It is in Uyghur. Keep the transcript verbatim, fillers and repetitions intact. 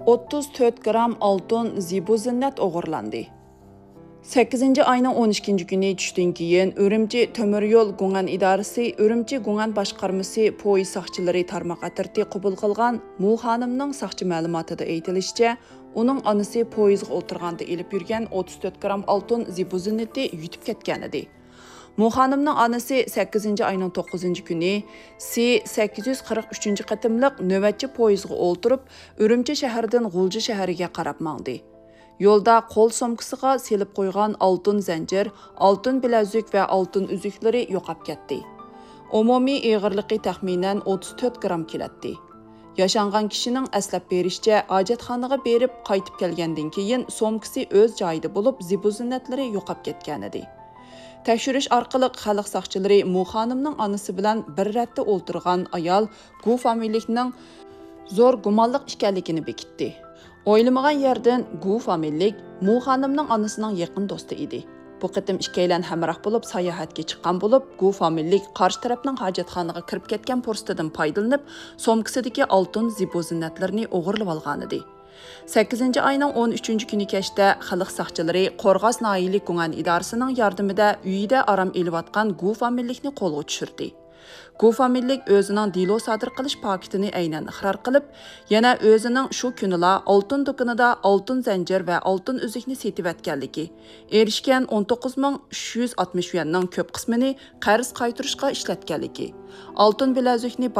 ئوتتۇز تۆت گرام ئالتۇن، زىبۇ زىننەت ئوغرىلاندى. سەككىزىنچى ئاينىڭ ئون ئىككىنچى كۈنى چۈشتىن كېيىن ئۈرۈمچى تۆمۈر يول گۇڭئەن ئىدارىسى ئۈرۈمچى گۇڭئەن باشقارمىسى پويىز ساقچىلىرى تارماق ئەترىتى قوبۇل قىلغان مۇ خانىمنىڭ ساقچى مەلۇماتىدا ئېيتىلىشىچە، ئۇنىڭ ئانىسى پويىزغا ئولتۇرغاندا ئېلىپ يۈرگەن ئوتتۇز تۆت گرام ئالتۇن زىبۇ زىننىتى يۈتۈپ كەتكەنىدى. مۇ خانىمنىڭ ئانىسى سەككىزىنچى ئاينىڭ توققۇزىنچى كۈنى سى سەككىز يۈز قىرىق ئۈچىنچى قېتىملىق نۆۋەتچى پويىزغا ئولتۇرۇپ، ئۈرۈمچى شەھىرىدىن غۇلجا شەھىرىگە قاراپ ماڭدى. يولدا قول سومكىسىغا سېلىپ قويغان ئالتۇن زەنجىر، ئالتۇن بىلەزۈك ۋە ئالتۇن ئۈزۈكلىرى يوقاپ كەتتى. ئومۇمىي ئېغىرلىقى تەخمىنەن ئوتتۇز تۆت گرام كېلەتتى. ياشانغان كىشىنىڭ ئەسلەپ بېرىشىچە، ھاجەتخانىغا بېرىپ قايتىپ كەلگەندىن كېيىن سومكىسى ئۆز جايىدا بولۇپ، زىبۇ زىننەتلىرى يوقاپ كەتكەنىدى. تەكشۈرۈش ئارقىلىق خەلق ساقچىلىرى مۇ خانىمنىڭ ئانىسى بىلەن بىر رەتتە ئولتۇرغان ئايال گۇ فامىلىلىكنىڭ زور گۇمانلىق ئىكەنلىكىنى بېكىتتى. ئويلىمىغان يەردىن گۇ فامىلىلىك مۇ خانىمنىڭ ئانىسىنىڭ يېقىن دوستى ئىدى. بۇ قېتىم ئىككىيلەن ھەمراھ بولۇپ ساياھەتكە چىققان بولۇپ، گۇ فامىلىلىك قارشى تەرەپنىڭ ھاجەتخانىغا كىرىپ كەتكەن پۇرسىتىدىن پايدىلىنىپ، سومكىسىدىكى ئالتۇن زىبۇ زىننەتلىرىنى ئوغرىلىۋالغانىدى. سەككىزىنچى ئاينىڭ ئون ئۈچىنچى كۈنى كەچتە خەلق ساقچىلىرى قورغاس ناھىيەلىك گۇڭئەن ئىدارىسىنىڭ ياردىمىدە ئۆيىدە ئارام ئېلىۋاتقان گۇ فامىلىلىكنى قولغا چۈشۈردى. گۇ فامىلىلىك ئۆزىنىڭ دېلو سادىر قىلىش پاكىتىنى ئەينەن ئىقرار قىلىپ، يەنە ئۆزىنىڭ شۇ كۈنىلا ئالتۇن دۇكىنىدا ئالتۇن زەنجىر ۋە ئالتۇن ئۈزۈكنى سېتىۋەتكەنلىكى، ئېرىشكەن ئون توققۇز مىڭ ئۈچ يۈز ئاتمىش يۈەننىڭ كۆپ قىسمىنى قەرز قايتۇرۇشقا ئىشلەتكەنلىكى، ئالتۇن بىلەزۈكنى